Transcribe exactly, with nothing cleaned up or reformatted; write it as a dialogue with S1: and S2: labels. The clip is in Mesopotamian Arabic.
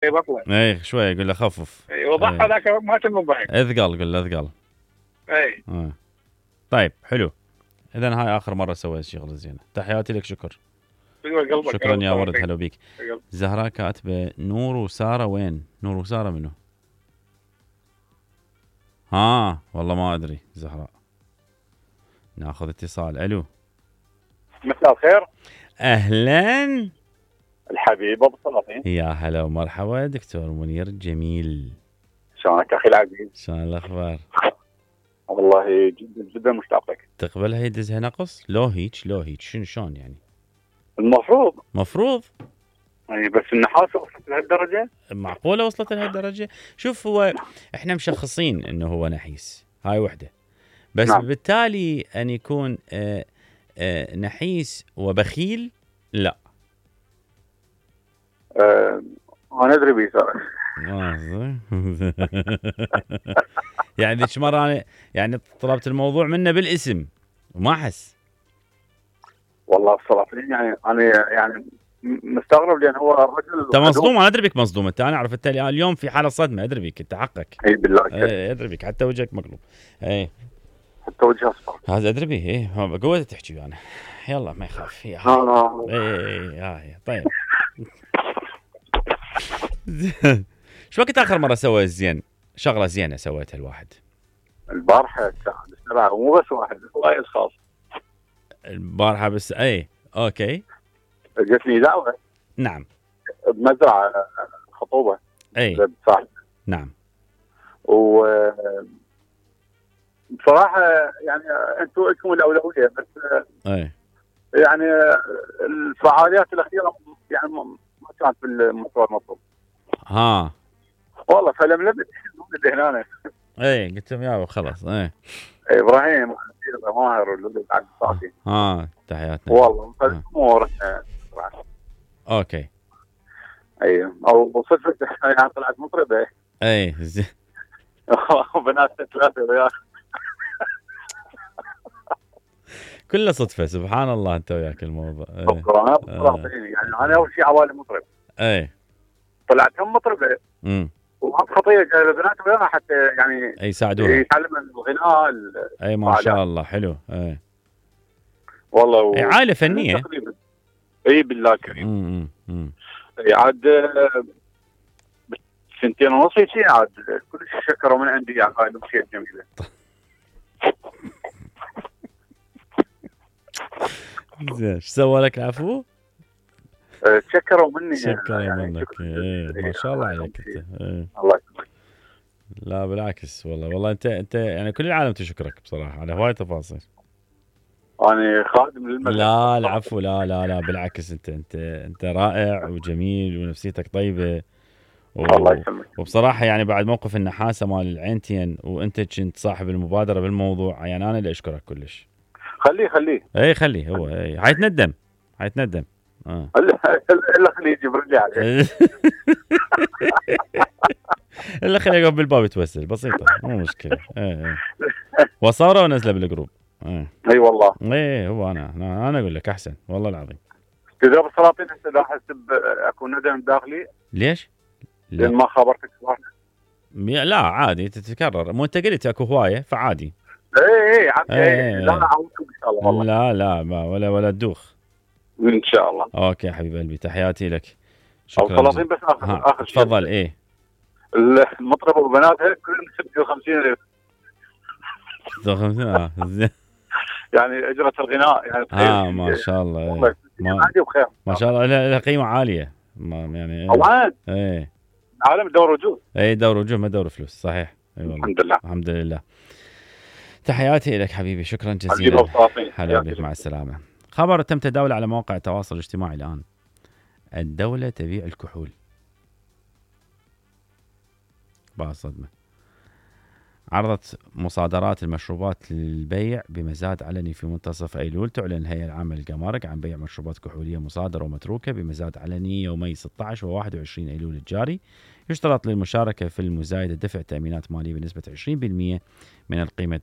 S1: بطله
S2: اي شوي يقول له خفف.
S1: اي وضح هذاك ما تم ضحك.
S2: اثقل قل له اثقل.
S1: اي
S2: آه. طيب حلو. اذا هاي اخر مره سويت شغله زينه. تحياتي لك. شكر. شكرا يا ورد. هلا بيك. زهراء كاتبه نور وساره وين؟ نور وساره منو؟ ها والله ما ادري زهراء. ناخذ اتصال. الو
S3: مساء الخير.
S2: اهلا
S3: الحبيب ابو السلاطين.
S2: يا هلا ومرحبا دكتور منير جميل.
S3: شلونك اخي العزيز؟
S2: شلون الاخبار؟
S3: والله جدا جدا مشتاق لك.
S2: تقبلها يدزها نقص؟ لو هيك لو هيك شنو شلون يعني؟
S3: المفروض
S2: مفروض
S3: يعني بس النحاس وصلت لهالدرجه؟
S2: معقوله وصلت لهالدرجه؟ شوف هو احنا مشخصين انه هو نحيس، هاي وحده بس. نعم. بالتالي ان يكون آآ آآ نحيس وبخيل لا.
S3: أه انا ادري بيه
S2: يعني ذيك مره انا يعني طلبت الموضوع منه بالاسم وما حس.
S3: والله الصراحه يعني انا يعني مستغرب لان هو الرجل
S2: انت مصدوم. انا ادري بك مصدوم انت. انا اعرف انت اليوم في حاله صدمه. ادري بك انت حقك.
S3: اي بالله.
S2: اي ادري بك حتى وجهك مقلوب. اي
S3: حتى وجهه اصفر.
S2: هذا ادري به. اي قوه تحكي انا. يلا ما يخاف. يا اي اي طيب. شو وقت اخر مره سويت زين شغله زينه سويتها الواحد؟
S3: البارحه الساعه مو بس واحد وايد خاص.
S2: البارحه بس. اي اوكي.
S3: جتني دعوه.
S2: نعم.
S3: بمزرعه خطوبه.
S2: اي
S3: صح.
S2: نعم.
S3: و بصراحه يعني انتم لكم الاولويه بس.
S2: اي
S3: يعني الفعاليات الاخيره يعني ما كانت بالمستوى المطلوب.
S2: ها
S3: والله فلملمت هنا.
S2: اي قلت لهم يابا خلاص. اي
S3: ابراهيم ماهر والولد عبد الصافي.
S2: ها تحياتنا.
S3: والله فالامور
S2: اوكي.
S3: ايوه او صدفه يعني طلعت مطربه.
S2: اي زين.
S3: وبنات ثلاثه وياك.
S2: كله صدفه سبحان الله. انت وياك الموضوع.
S3: ايه. آه. يعني انا اول شيء عوالي مطرب.
S2: اي
S3: طلعت هم مطربه.
S2: امم
S3: وهم خطيه جايبه بنات وياها حتى يعني
S2: يساعدوها
S3: يتعلم الغناء.
S2: اي ما شاء الله حلو. اي
S3: والله و...
S2: اي عائله فنيه
S3: تقريبا. اي بالله كريم.
S2: امم امم
S3: عاد سنتين ونص شيء عاد كلش شكروا من عندي يعني هاي الاشياء الجميله.
S2: زين ايش سوى لك العفو؟
S3: تشكروا مني.
S2: شكرا يعني منك. ايه ما شاء الله عليك انت. ايه.
S3: الله يسلمك.
S2: لا بالعكس والله والله انت انت يعني كل العالم تشكرك بصراحه على هواي تفاصيل.
S3: انا خادم للمدرسه.
S2: لا العفو. لا لا لا بالعكس انت انت انت رائع وجميل ونفسيتك طيبه. و...
S3: الله يسلمك.
S2: وبصراحه يعني بعد موقف النحاسه مال العينتين وانت كنت صاحب المبادره بالموضوع يعني انا اللي اشكرك كلش.
S3: خليه خليه.
S2: اي خليه هو. اي حيتندم حيتندم. اه
S3: الا خليه يجبر لي عليه.
S2: الا خليه يقف بالباب يتوسل بسيطه مو مشكله. اي وصوره ونزله بالجروب. اي
S3: اي والله.
S2: اي هو انا انا, أنا اقول لك احسن والله العظيم.
S3: كذا بالسلاطين هسه لا احس اكو ندم داخلي.
S2: ليش؟
S3: لان ما خبرتك صراحه.
S2: لا عادي تتكرر. مو انت قلت اكو هوايه فعادي.
S3: اي اي عادي. اي لا اعودكم ان شاء الله والله.
S2: لا لا ما ولا ولا تدوخ
S3: ان شاء الله.
S2: اوكي حبيب قلبي تحياتي لك. شكرا.
S3: السلاطين بس اخر اخر
S2: شيء تفضل. ايه
S3: المطربه وبناتها كلهم ستة وخمسين ألف.
S2: ستة وخمسين اه زين.
S3: يعني اجره الغناء يعني.
S2: اه ما شاء الله.
S3: والله ما عندي بخير
S2: ما شاء الله لها قيمه عاليه. ما يعني
S3: طبعا.
S2: ايه
S3: عالم دور وجود.
S2: اي دور وجود ما دور فلوس. صحيح. اي والله
S3: الحمد لله.
S2: الحمد لله. تحياتي لك حبيبي. شكرا جزيلا. هلا بك. مع السلامه. خبر تم تداوله على مواقع التواصل الاجتماعي الان. الدوله تبيع الكحول. بعد صدمه. عرضت مصادرات المشروبات للبيع بمزاد علني في منتصف أيلول. تعلن الهيئة العامة للجمارك عن بيع مشروبات كحولية مصادرة ومتروكة بمزاد علني يومي ستة عشر وواحد وعشرين أيلول الجاري. يشترط للمشاركة في المزايدة دفع تأمينات مالية بنسبة عشرين بالمئة من القيمة